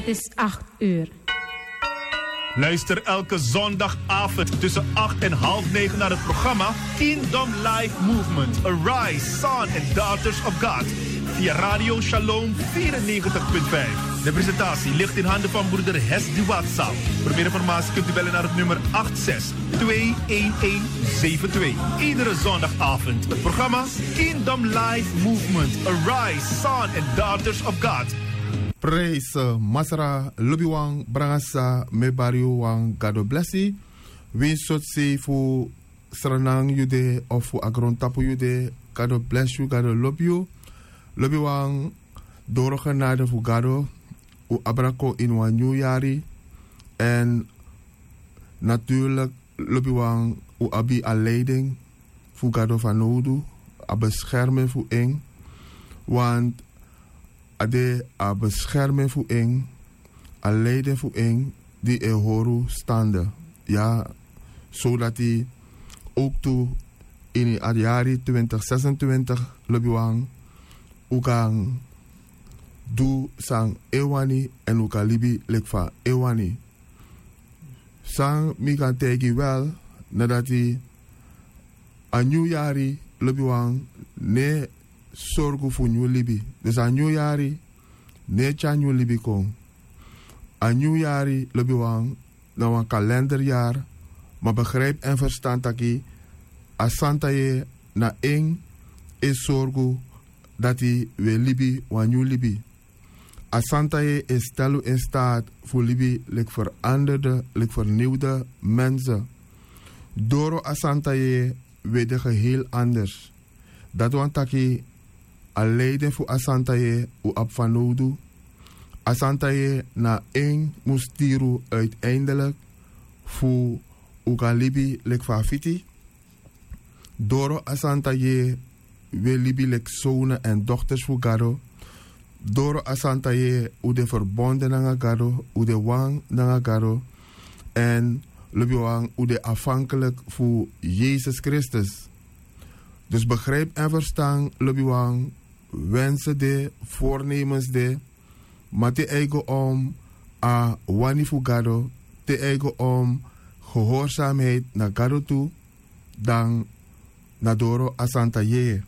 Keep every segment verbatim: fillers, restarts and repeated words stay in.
Het is acht uur. Luister elke zondagavond tussen acht en half negen naar het programma Kingdom Life Movement: Arise, Son and Daughters of God via Radio Shalom vierennegentig punt vijf. De presentatie ligt in handen van broeder Hesdy Watsa. Voor meer informatie kunt u bellen naar het nummer acht zes twee een een zeven twee. Iedere zondagavond het programma Kingdom Life Movement: Arise, Son and Daughters of God. Praise, Masra, lobiwan, brangasa, mi e bari yu wan Gado blesi. Winsi sortu sei fu Sranan yu de of fu a grontapu yu de, Gado blesi yu, Gado lobi yu. Lobiwan, doro genade fu Gado un abra kon ini wan nyun yari. Èn naturlik, lobiwan, un abi a leiding fu Gado fanowdu, a beskerming fu en. Want a de a beskerming fu en, a leiding fu en, di e hori un stande. Ya, sodati owktu ini a yari twintig zesentwintig, lobiwan, un kan du san en wani èn un kan libi leki fa en wani. San mi kan taigi wel, na dati a nyun yari, lobiwan, no e sorgu fu nyun libi. Dus a nyun yari no e tyari nyun libi kon. A nyun yari, lobiwan, na wan kalenderyari, ma begrijpi èn ferstan taki a santa yeye na en e sorgu dati wi e libi wan nyun libi. A santa yeye e stel un in staat fu libi leki veranderde, leki verniwde mense. Doro a santa yeye wi e de geheel anders. Dati wani taki a leiding fu a santa yeye un abi fanowdu. A santa yeye na en mus tiri un uiteindelik fu un kan libi leki fa a fiti. Doro a santa yeye wi e libi leki sownu èn dokters fu Gado. Doro a santa yeye un de ferbonde nanga Gado, un de wan nanga Gado. Èn lobiwan, un de afhankelik fu Yesus Kristus. Dus begrijpi èn ferstan, lobiwan, wensen de, voornemens de, ma te eigen om a wani fu Gado, te eigen om gehoorzaamheid na Gado tu, dan na doro a santa yeye.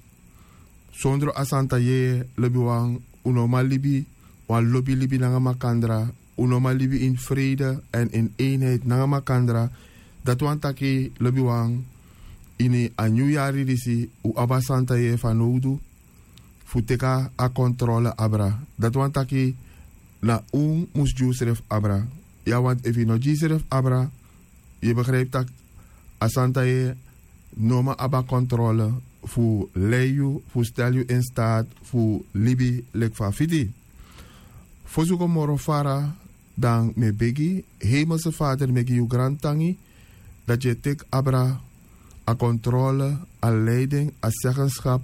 Sondro a santa yeye, lobiwan, un no man libi wan lobi libi nanga makandra, un no man libi in vrede èn in eenheid nanga makandra. Dati wani taki, lobiwan, ini a nyun yari disi un abi a santa yeye fanowdu fu teki a kontrole abra. Dati wani taki na un mus gi unsrefi abra. Ya, want efu yu no gi yusrefi abra, yu e begrijpi tak' a santa yeye no man abi a kontrole fu lei yu, fu stel yu in staat fu libi leki fa a fiti. Fosi un go moro fara, dan mi e begi, Hemelse Vader, mi e gi yu grantangi dati yu e teki abra a kontrole, a leiding, a zeggenschap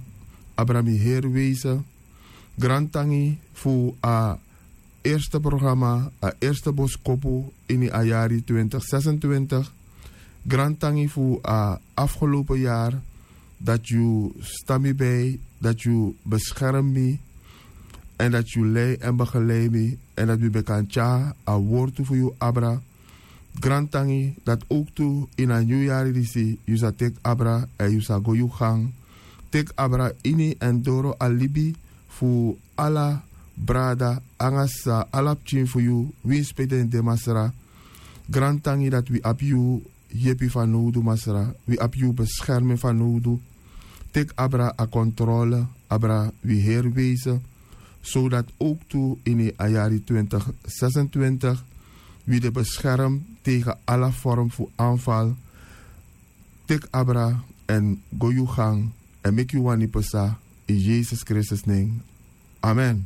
abra mi heri wezen. Grantangi fu a eerste programma, a eerste boskopu ini a yari twintig zesentwintig. Grantangi fu a afgelopen yari, dati yu sta mi bij, dati yu beskerm mi, èn dati yu lei èn begeleid mi, èn dati mi ben kan tyari a wortu fu yu abra. Grantangi dati owktu ini a nyun yari disi yu sa teki abra èn yu sa go yu gang. Teki abra ini èn doro a libi fu ala brada nanga sisa, ala pikin fu yu, winsi pe den de, Masra. Grantangi dati wi abi yu yepi fanowdu, Masra. Wi abi yu beskerming fanowdu. Teki abra a kontrole abra wi heri wezen, sodati owktu ini a yari twintig zesentwintig wi de beskerm tegen ala vorm fu aanval. Teki abra èn go yu gang èn meki yu wani psa, in Yesus Kristus nen. Amen.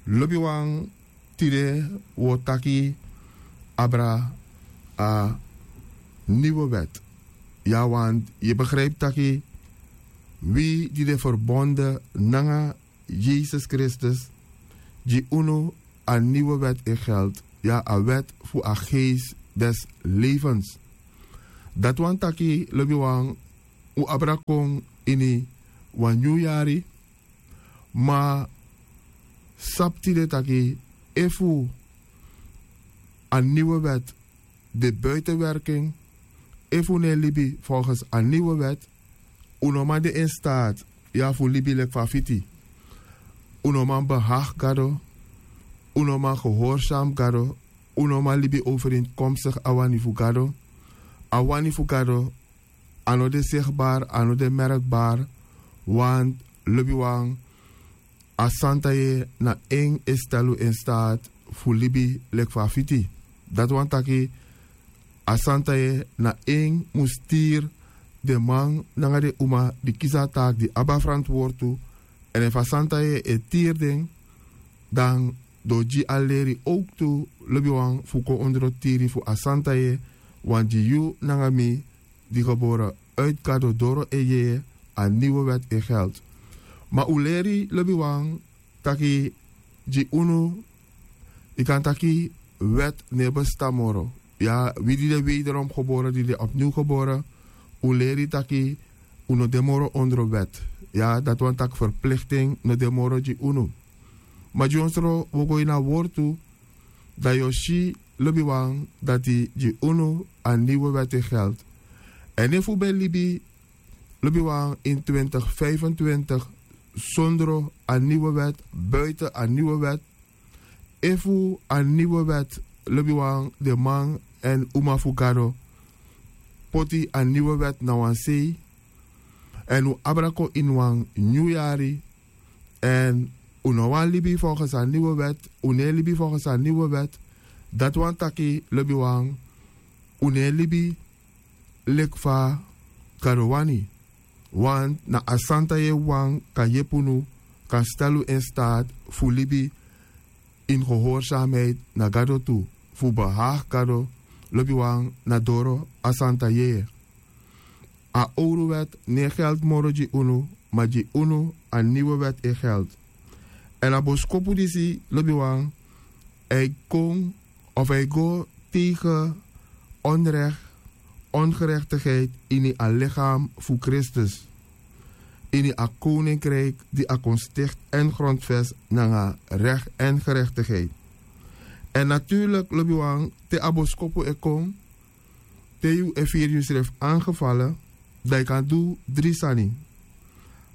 Lobiwan, tide wi o taki abra a nieuwe wet. Ya, want yu e begrijpi taki wi di de verbonde nanga Yesus Kristus, gi unu a nieuwe wet in geld. Ya, a wet fu a geest des levens. Dati wani taki, lobiwan, un abra kon ini wan nyun yari. Ma sabi tide taki efu a niwe wèt de buitenwerking. Efu un no e libi folgens a niwe wèt, un no man de in staat ya fu libi leki fa a fiti. Un no man behag gado. Un no man gehorsam gado. Un no man libi overeenkomstig a wani fu gado. A wani fu gado a no de sigbar, a no de merkbar. Want lobiwan, a santa yeye na en e stel un in staat fu libi leki fa a fiti. Dati wani taki a santa yeye na en mus tiri den man nanga den uma di kisi a taaki di abi a ferantwortu. Èn efu a santa yeye e tiri den, dan den o gi a leri owktu, lobiwan, fu kon ondro tiri fu a santa yeye. Wan gi yu nanga mi di gebore uiti gado doro en yeye, a niwe wèt e geld. Ma un leri lobiwan taki gi unu, yu kan taki wèt no e bestan moro. Ya, wi di de wederom gebore, di de opniw gebore, un leri taki un no de moro ondro wèt. Ya, dati wani taki ferplikting no de moro gi unu. Ma dyonsro un o go ini a wortu, dan yu o si, lobiwan, dati gi unu a niwe wèt e geld. Èn efu un ben libi, lobiwan, in twintig vijfentwintig sondro a niwe wèt, buiten a niwe wèt, efu a niwe wèt, lobiwan, den man èn uma fu gado poti a niwe wèt na wan sei, èn un abra kon ini wan nyun yari, èn un no wani libi folgens a niwe wèt, un no e libi folgens a niwe wèt, dati wani taki, lobiwan, un no e libi leki fa gado wani. Want na a santa yeye wawan kan yepi unu, kan stel un in staat fu libi in gehoorzaamheid na gado tu, fu behag gado, lobiwan, na doro a santa yeye. A owru wèt no e geld moro gi unu, ma gi unu a niwe wèt e geld. Èn a boskopu disi, lobiwan, a e kon of a e go tegen onrecht, ongerechtigheid ini a lichaam fu Kristus, ini a koninkrijk di a kon sticht èn grondvest nanga recht èn gerechtigheid. Èn natuurlijk, lobiwan, te a boskopu e kon, te yu e firi yusrefi aangevallen, dan yu kan du dri sani.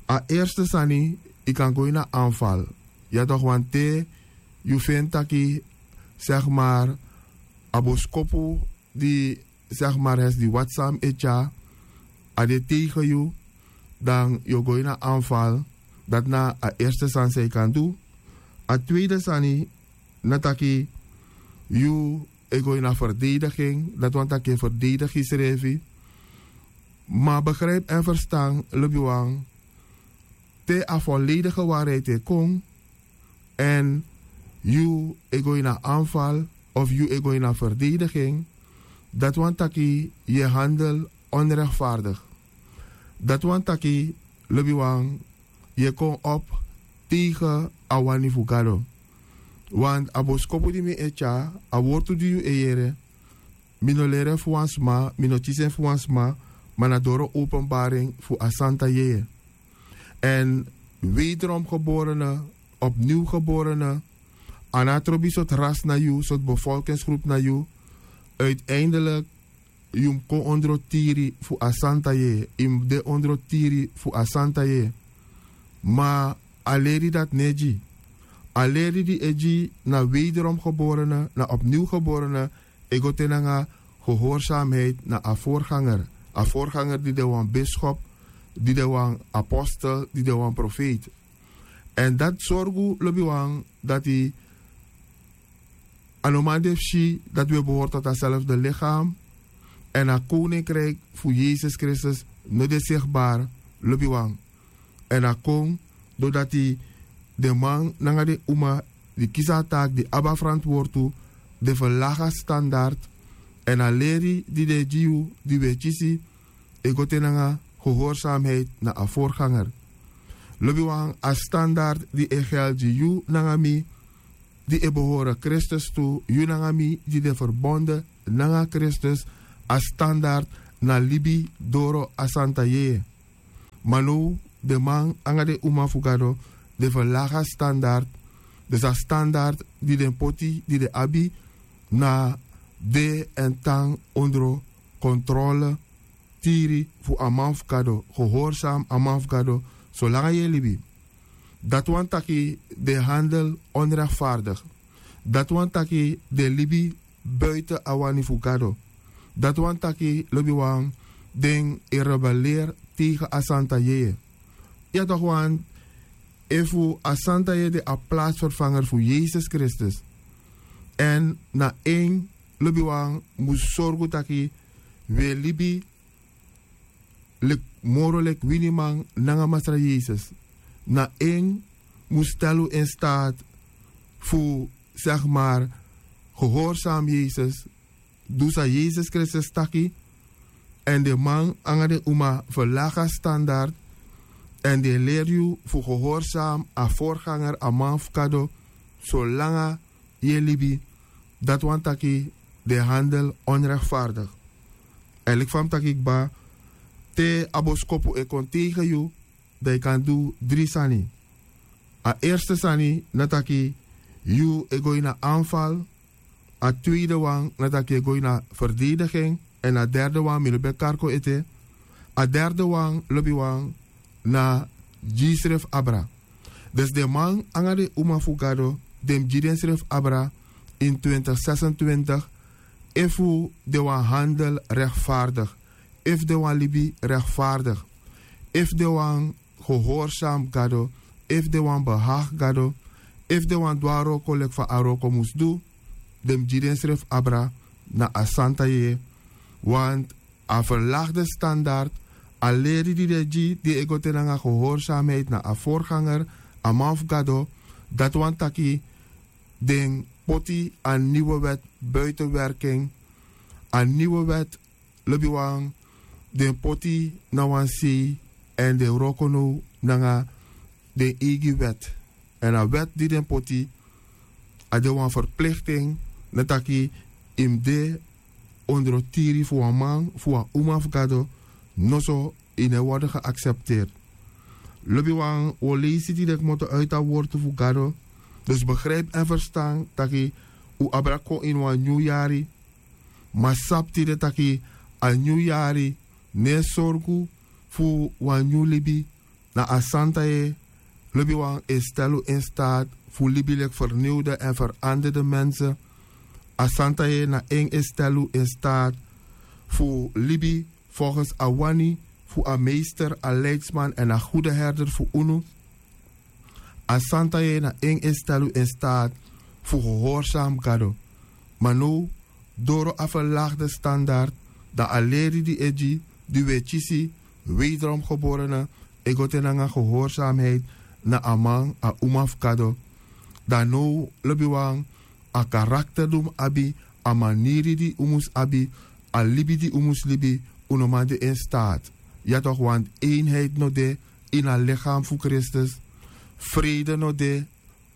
A eerste sani, yu kan go ini a aanval. Ya toch, want te yu feni taki, zeg maar, a boskopu di, zeg maar, hesi di wati san mi e tyari, a de tegen yu, dan yu o go ini a aanval. Dati na a eerste sani san yu kan du. A tweede sani, na taki yu e go ini a verdediging, dati wani taki yu e verdedig yusrefi. Ma begrijp èn ferstan, lobiwan, te a volledige waarheid e kon, èn yu e go ini a aanval of yu e go ini a verdediging, dati wani taki yu e handel onrechtvaardig. Dati wani taki, lobiwan, yu e kon op tegen a wani fu Gado. Want a boskopu di mi e tyari, a wortu di yu e yere, mi no leri en fu wan sma, mi no kisi en fu wan sma, ma na doro openbaring fu a Santa Yeye. Èn wederom geborene, opnieuw geborene, a no trobi sortu ras na yu, sortu bevolkingsgroep na yu, uiteindelijk yu mus kon ondro tiri fu a Santa Yeye, yu mus de ondro tiri fu a Santa Yeye. Ma a leri dati no e gi. A leri di e gi na wederom geborene, na opnieuw geborene, e go te nanga gehoorzaamheid na a voorganger. A voorganger di de wan bischop, di de wan apostel, di de wan profeet. Èn dati sorgu, lobiwan, dati a no man de fu si dati wi e behoort tot a zelfde lichaam. Èn a koninkrijk fu Yesus Kristus no de zichtbaar, lobiwan. Èn a kon doordat den man nanga den uma di kisi a taak di abi a verantwoord tu, den verlaag a standaard. Èn a leri di den e gi yu, di wi e kisi, e go te nanga gehoorzaamheid na a voorganger. Lobiwan, a standaard di e geldi gi yu nanga mi, di e behoren Kristus tu, yu nanga mi di de verbonden nanga Kristus, a standaard na libi doro a Santa Yeye. Ma now den man nanga den uma fu Gado, den verlaag a standaard. Dus a standaard di den poti, di den abi, na de èn tan ondro kontrole tiri fu a man fu gado, gehorsam a man fu gado solanga yu e libi. Dati wani taki den handel onrechtvaardig. Dati wani taki den libi buiten a wani fu gado. Dati wani taki lobiwan den e rebelleer tegen a santa yeye. Ya toch wan efu a santa yeye de a plaatsvervanger fu yesus kristus. Èn na en lobiwan mus sorgu taki wi e libi leki moro leki winiman nanga masra yesus. Na en mus stel un in staat fu zeg maar gehorsam yesus, du san yesus kristus taki. Èn den man nanga den uma verlaga standard èn den e leri yu fu gehorsam a vorganger a man fu gado solanga yu e libi. Dati wani taki den handel onrechtvaardig. Èn leki fa mi taki kba, te a boskopu e kon tegen yu, dan yu kan du dri sani. A eerste sani na taki yu e go ini a anval. A tweede wan na taki yu e go ini a verdediging. Èn a derde wan mi no ben karko ete. A derde wan lobiwan na gi srefi abra. Dus den man nanga den uma fu gado den mus gi densrefi abra in twintig sesentwintig. Efu den wani handel rechtvaardig, efu den wani libi rechtvaardig, efu den wani gehorsam gado, efu den wani behagi gado, efu den wani du a wroko leki fa a wroko mus du, den mus gi densrefi abra na a santa yeye. Want a verlagde standard, a leri di den gi di e go te nanga gehorsamheid na a vorganger, a man fu gado, dati wani taki den poti a niwe wet buiten werking. A niwe wet lobiwan den poti na wan sei èn den wroko now nanga den eigi wet. Èn a wet di den poti a de wan verplikting na taki yu mus de ondro tiri fu wan man fu wan uma fu gado. Noso yu no e worden geaksepteerd. Lobiwan wi o leisi di den kmoto uiti a wortu fu gado. Dus begrijpi èn ferstan taki un abra kon ini wan nyun yari. Ma sabi tide taki a nyun yari no e sorgu fu wan nyun libi. Na a santa yeye lobiwan e stel un in staat fu libi leki ferniwde èn feranderde mense. A santa yeye na en e stel un in staat fu libi volgens a wani fu a meester, a leidsman èn a gude herder fu unu. A santa yeye na en e stel un in staat fu gehorsam gado. Ma now doro a verlagde standard, dan a leri di e gi di wi e kisi wederom geborene e go te nanga gehorsamheid na a man, a uma fu gado. Dan now lobiwan, a karakter di un mus abi, a maniri di un mus abi, a libi di un mus libi, un no man de in staat. Ya toch want eenheid no de ini a lichaam fu kristus. Vrede no de,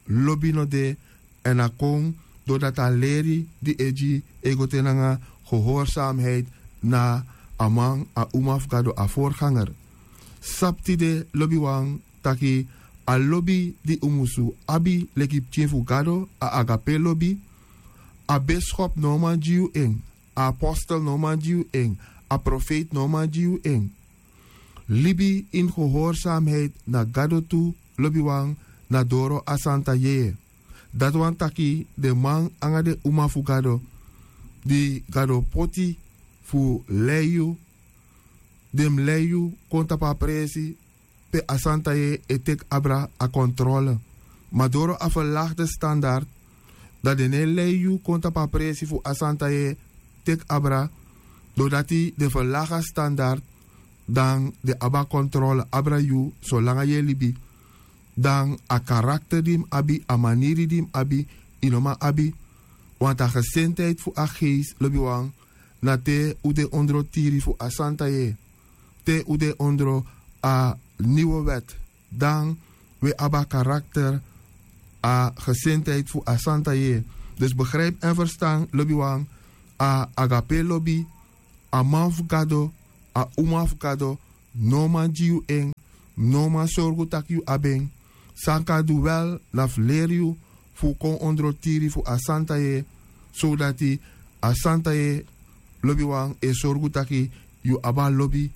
lobi no de. Èn a kon dordati a leri di e gi e go te nanga gehorsamheid na a man, a uma fu gado, a vorganger. Sabi tide lobiwan taki a lobi di un musu abi leki pikin fu gado, a agape lobi. A beskop no man gi yu en, a apostel no man gi yu en, a profeiti no man gi yu en. Libi ini gehorsamheid na gado tu, lobiwan, na doro a santa yeye. Dati wani taki den man nanga den uma fu gado di gado poti fu lei yu, den mus lei yu kon tapu a presi pe a santa yeye e teki abra a kontrole. Ma doro a verlagde standard, dan den no e lei yu kon tapu a presi fu a santa yeye teki abra. Dordati den verlagi a standard, dan den abi a kontrole abra yu solanga yu e libi. Dan a karakter di yu mus abi, a maniri di yu mus abi, yu no man abi. Want a gesintheid fu a geest lobiwan, na te un de ondro tiri fu a santa yeye, te un de ondro a niwe wet, dan wi e abi a karakter, a gesintheid fu a santa yeye. Dus begrijpi èn ferstan lobiwan, a agape lobi, a man fu gado, a uma fu gado, no man gi yu en, no man sorgu tak' yu abi en. San kan du wel na fu leri yu fu kon ondro tiri fu a santa yeye, sodati A santa yeye lobiwan e sorgu taki yu abi a lobi